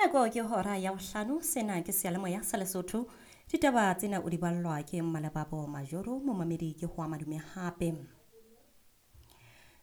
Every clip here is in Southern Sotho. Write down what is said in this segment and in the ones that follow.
Nako ke hora ya bohlano, sena ke seyalemoya sa Lesotho. Ditaba tsena o di ballwa ke Mmalebabo Majoro, momamedi ke ho madume hape.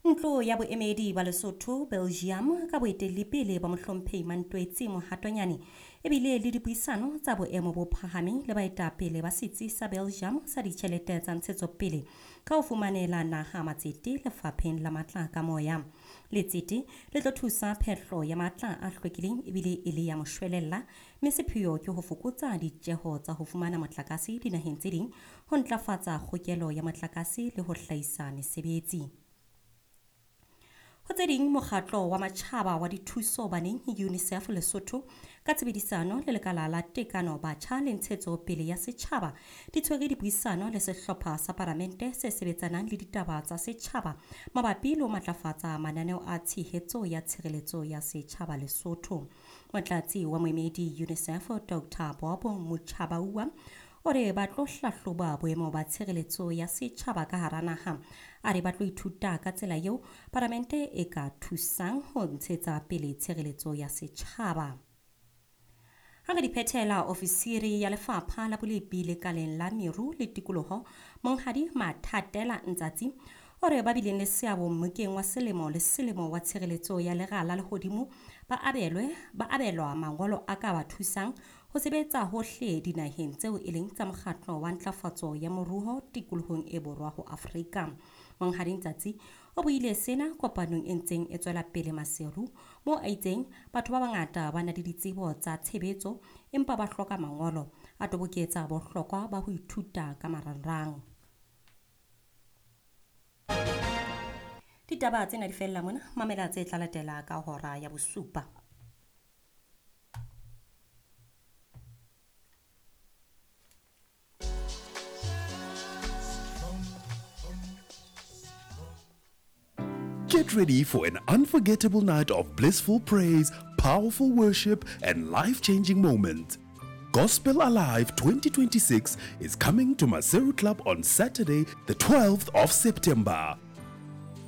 Ntlo ya boemedi ba Lesotho Belgium ka boetelli pele ba mohlomphehi Mantwetsi Mohatonyane ebile le dipuisano tsa boemo bo phahameng le baetapele ba setsi sa Belgium sa ditjhelete tsa ntshetsopele ka ho fumanela naha matsete lefapheng la matla ka moya. Letsete le tlo thusa phehlo ya matla a hlwekileng ebile e le ya moshwelella, mme sepheo ke ho fokotsa ditjeho tsa ho fumana motlakase dinaheng tse ding, ho ntlafatsa kgokelo ya motlakase le ho hlahisa mesebetsi. Ho tse ding, mokgatlo wa matjhaba wa dithuso baneng UNICEF Lesotho ka tshebedisano le lekala la tekano batjha le ntshetsopele ya setjhaba di tshwere dipuisano le sehlopha sa palamente se sebetsanang le ditaba tsa setjhaba mabapi le ho matlafatsa mananeo a tshehetso ya tshireletso ya setjhaba Lesotho. Motlatsi wa moemedi UNICEF Dr. Bob Muchabaua o re ba tlo hlahloba boemo ba tshireletso ya setjhaba ka hara naha. A re ba tlo ithuta ka tsela eo palamente e ka thusang ho ntshetsa pele tshireletso ya setjhaba. Ha re di phethela, ofisiri ya lefapha la bolepi lekaleng la meru le tikoloho Monghadi Mathatela Ntsatsi o re ba bileng le seabo mmokeng wa selemo le selemo wa tshireletso ya lera la lehodimo ba abelwa mangolo a ka ba thusang ho sebetsa hohle dinaheng tseo e leng tsa mokgatlo wa ntlafatso ya moruo tikolohong e borwa ho Afrika. Monghadi Ntsatsi o buile sena kopanong e ntseng e tswela pele Maseru, moo a itseng batho ba bangata ba na le ditsebo tsa tshebetso empa ba hloka mangolo, a toboketsa bohlokwa ba ho ithuta ka marangrang. Ditaba tsena di fella mona, mamela tse tla latela ka hora ya bosupa. Get ready for an unforgettable night of blissful praise, powerful worship, and life-changing moments. Gospel Alive 2026 is coming to Maseru Club on Saturday, the 12th of September.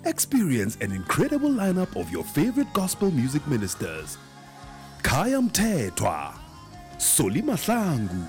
Experience an incredible lineup of your favorite gospel music ministers. Khaya Mthethwa, Solly Mahlangu,